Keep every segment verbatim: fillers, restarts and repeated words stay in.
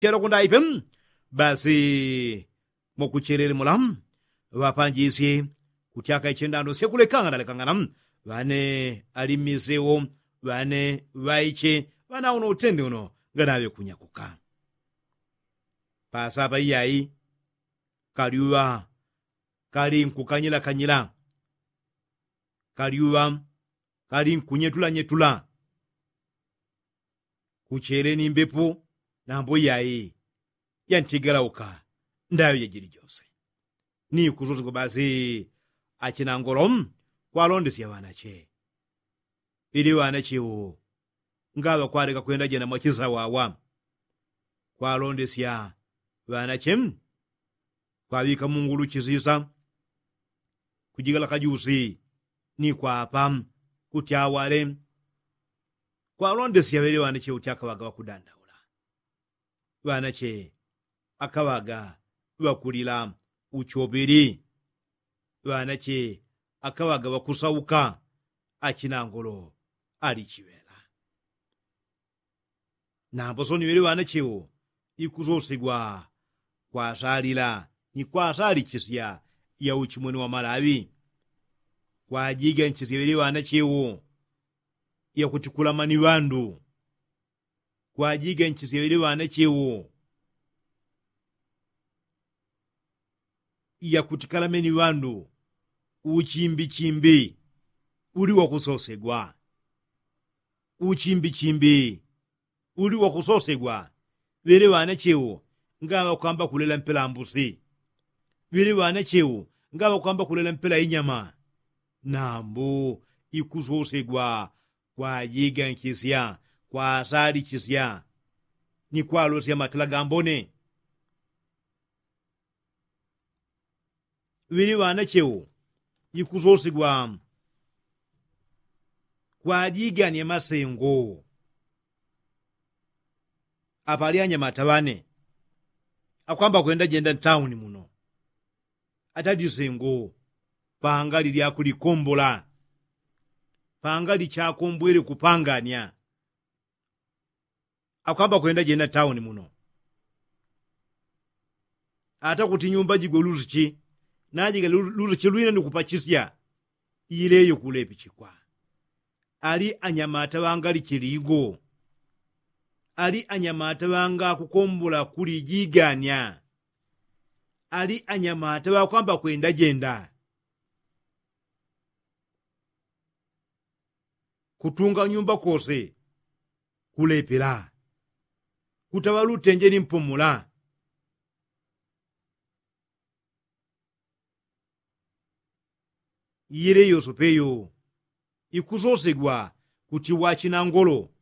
chelo kundaipe. Basi mwakuchelele mula ŵapanjisye kutyaka iche ndando syekulekangana lekangana ŵane ali mmisewo ŵane ŵaiche ŵanauno utende uno nganaŵe kunyakuka. Pasapa iyai kalyuŵa kali nkukanyilakanyila kalyuŵa kali nkunyetulanyetula. Kuchele ni mbepo nambo iyai yantigalauka ndaŵe jajili jose. Ni kusosegwa basi achinangolo kwalondesya ŵanache ŵili ŵanache ŵo ngaŵa kwaleka kwenda jenda mwachisawawa. Kwalondesya ŵanache kwaŵika mungulu chisisa kujigala kajusi ni kwapa kuti awale. Kwalondesya ŵele ŵanache uti akaŵaga ŵakudandaula ŵanache akaŵaga ŵakulila uchopili ŵanache akaŵaga ŵakusauka. Achinangolo ali chiŵela. Nambo soni ŵele ŵanache ŵo ikusosegwa kwasalila ni kwasalichisya ya uchimwene wa malaŵi. Kwajiganchisya ŵele ŵanache ŵo yakuti kulama ni ŵandu. Kwajiganchisya ŵele ŵanache ŵo yakuti kalame ni ŵandu. Uchimbichimbi uli wakusosegwa. Uchimbichimbi uli wakusosegwa. Ŵele ŵanache ŵo ngaŵa kwamba kulela mpela mbusi. Ŵele ŵanache ŵo ngaŵa kwamba kulela mpela inyama. Nambo ikusosegwa kwajiganchisya kwasalichisya ni kwalosya matela gambone. Ŵili ŵanache ŵo ikusosigwa kwajigania masengo. Apali anyamata ŵane akwamba kwenda jenda ntauni muno atadisengo pangali lyakulikombola pangali chakombwele kupangania. Akwamba kwenda jenda ntauni muno ata kuti nyumba jigwe lusichi najigale lusichi lwine ni kupachisya. Ileyo kulepichikwa ali anyamata ŵangali chiligo. Ali anyamata ŵanga kukombola kulijigania. Ali anyamata ŵakwamba kwenda jenda kutunga nyumba kose kulepela kutaŵa lutenje ni mpumula. Yele yosope yo ikusosegwa kuti wachinangolo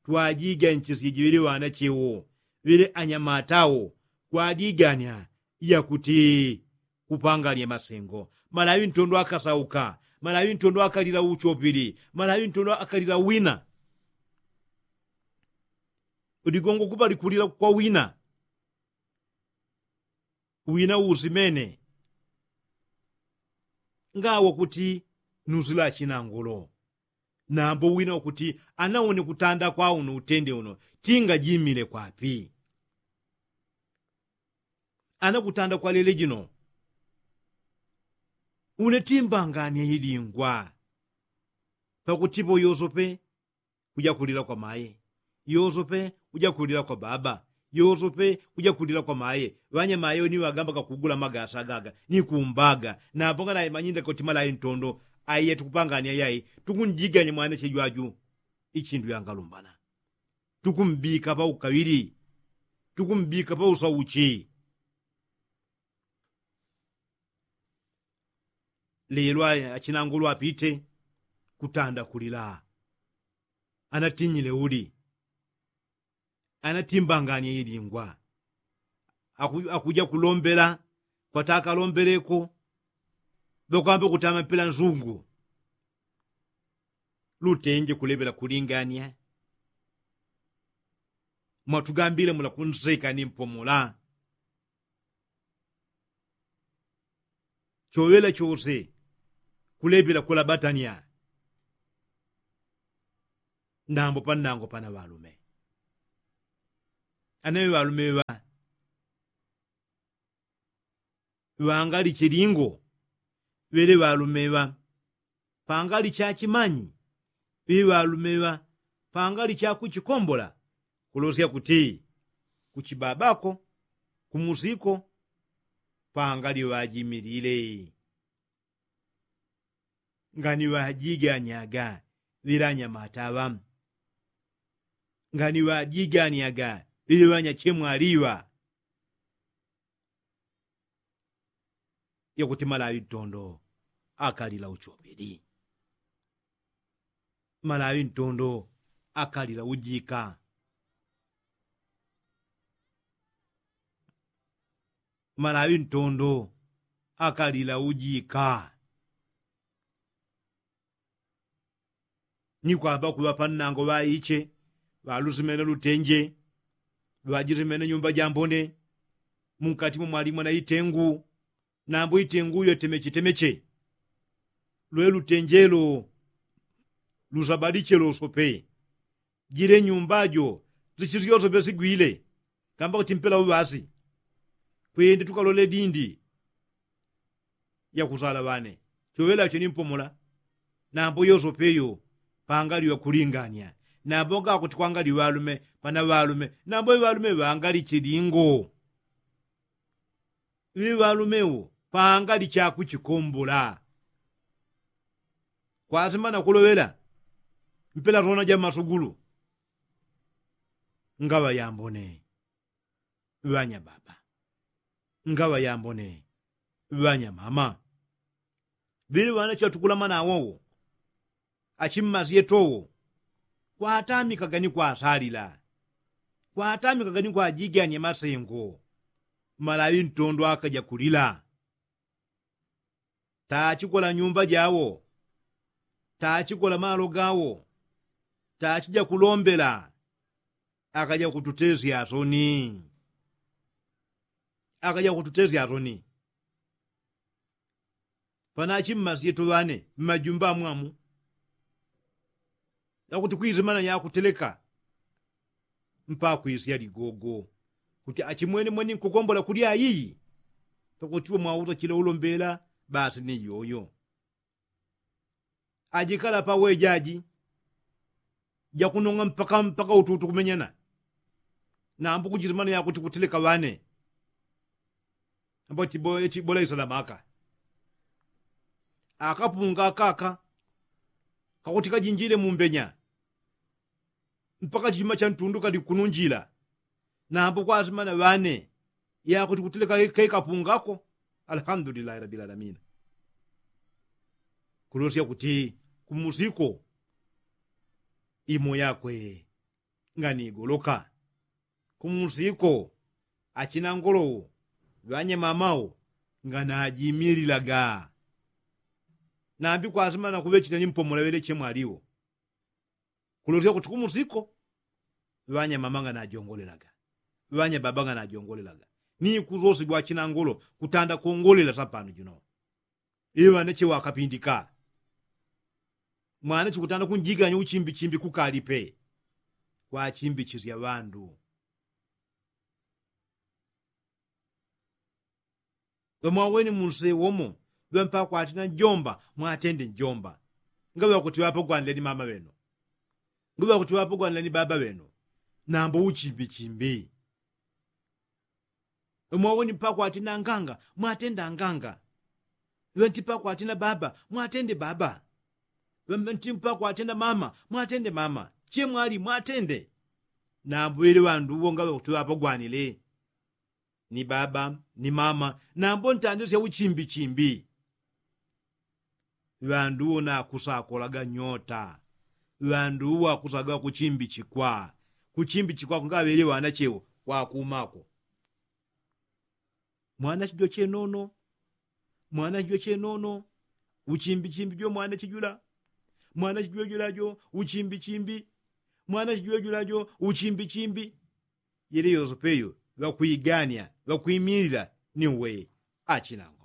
twajiganchisye jiŵele ŵanache wo ŵele anyamata wo kwajigania yakuti kupangania masengo. Malaŵi ntondo akasauka malaŵi ntondo akalila uchopili malaŵi ntondo akalila wina. Uligongo kupali kulila kwa wina wina usimene ngawo kuti nusila achinangolo. Nambo wina wakuti anaone kutanda kwa uno utende uno tingajimile kwapi? Ana kutanda kwa lele jino une timbangania ilingwa. Pakutipo yosope kujakulila kwa maye yosope kujakulila kwa baba yosope kujakulila kwa maye. Ŵanyamaye ni ŵagamba gakugula magasa gaga ni kumbaga napo nganaimanyinda koti malayi ntondo. Aiye tukupangania yai tukunjigania mwana chejwaju ichindu yangalumbana tukumbika paukaŵili tukumbika pausauchi. Lelo achinangolo apite kutanda kulila anatinyile uli anatimbanganie ilingwa. Akuja kulombela kwata akalombeleko ŵakwamba kutama mpela nsungu. Lutenje kulepela kulingania mwatugambile mula kunseka ni mpumula. Choŵela chose kulepela kulabatania. Nambo pannango pana ŵalume Anaŵe ŵalume ŵa ŵangali chilingo ŵele ŵalume ŵa pangali cha chimanyi ŵili ŵalume ŵa pangali cha kuchikombola. Kulosya kuti kuchibabako kumusiko pangali ŵajimilile. Ngani ŵajiganyaga ŵilanyamata ŵa ngani ŵajiganyaga ŵili ŵanyachemwali ŵa. Yakuti malaŵi ntondo akalila uchobeli. Malaŵi ntondo akalila ujika. Malaŵi ntondo akalila ujika. Ni kwamba kuŵa pannango ŵaiche ŵalusimene lutenje ŵajisimene nyumba jambone. Munkati mumwalimo na itengu nambo itengu yo temeche temeche. Lwe lutenjelo lusabaliche losope. Jile nyumba jo zichisyoswe pesigwile. Kamba kuti mpela uŵasi kwende tukalole dindi yakusala ŵane. Choŵela cho ni mpomola. Nambo yosope yo pangali ŵakulinganya. Nambo ngakuti kwangali ŵalume pana ŵalume nambo ŵalume ŵangali chilingo. Ŵiŵalume wo pangali chakuchikombola. Kwasimana kuloŵela mpela tona ja masugulu. Ngaŵa yambone ŵanya baba ngaŵa yambone ŵanya mama. Ŵili ŵana chatukulama nawowo achimmasye towo. Kwatamikaga ni kwasalila kwatamikaga ni kwajigania masengo. Malaŵi ntondo akaja kulila. Tachikola nyumba jawo. Tachikola malo gawo. Tachija kulombela. Akaja kututesya soni. Akaja kututesya soni. Panachimmasye tuŵane mmajumba amwamu. Yakuti kwisimana yakuteleka mpaka kwisya ligogo. Kuti achimwene mwene nkukombola kulya ayiyi. Pakutipo mwausa chila ulombela basi ni yoyo. Ajikala pawejaji jakunong'a mpaka mpaka ututu kumenyana. Nambo kujisimana yakuti kuteleka ŵane. Ambo eti bola isalamaka. Akapunga akaka kakuti kajinjile mumbenya mpaka chima chantundu kali kununjila. Nambo kwasimana ŵane yakuti kuteleka kaikapungako. Alhamdulillahi rabilalamina. Kulosya kuti kumusiko imo yakwe nganigoloka. Kumusiko achinangolowo ŵanyamamawo nganajimililaga. Nambi kwasimana kuŵechina ni mpomola ŵeleche mwaliwo. Kulosya kuti kumusiko ŵanyamama nganajongolelaga. Ŵanyababa nganajongolelaga. Ni kusosi bwachinangolo kutanda kongolela sapano jino. Iŵaneche wakapindika. Mwanache kutanda kunjiganya uchimbichimbi kukalipe kwachimbichisya ŵandu. Ŵamwaweni munsewomo ŵampakwatina njomba mwatende njomba. Ngaŵakuti ŵapogwanile ni mama ŵenu. Ngaŵakuti ŵapogwanile ni baba ŵenu. Nambo uchimbichimbi. Ŵamwaweni mpakwatina nganga mwatende anganga. Ŵanti mpakwatina baba mwatende baba. Ŵanti mpakwatina mama mwatende mama. Chemwali mwatende. Nambo ŵele ŵandu ŵo ngaŵakuti ŵapogwanile ni baba ni mama. Nambo ntandisya uchimbichimbi. Ŵandu ŵona akusakolaga nyota. Ŵandu ŵo akusaga kuchimbichikwa. Kuchimbichikwako ngaŵele ŵana chewo kwakumako. Mwana chijo chenono. Mwana chijo chenono. Uchimbichimbi jo mwana chijula. Mwana chijo julajo uchimbichimbi. Mwana chijo julajo uchimbichimbi. Yele yosopeyo ŵakwigania ŵakwimilila ni uwe. Achinango.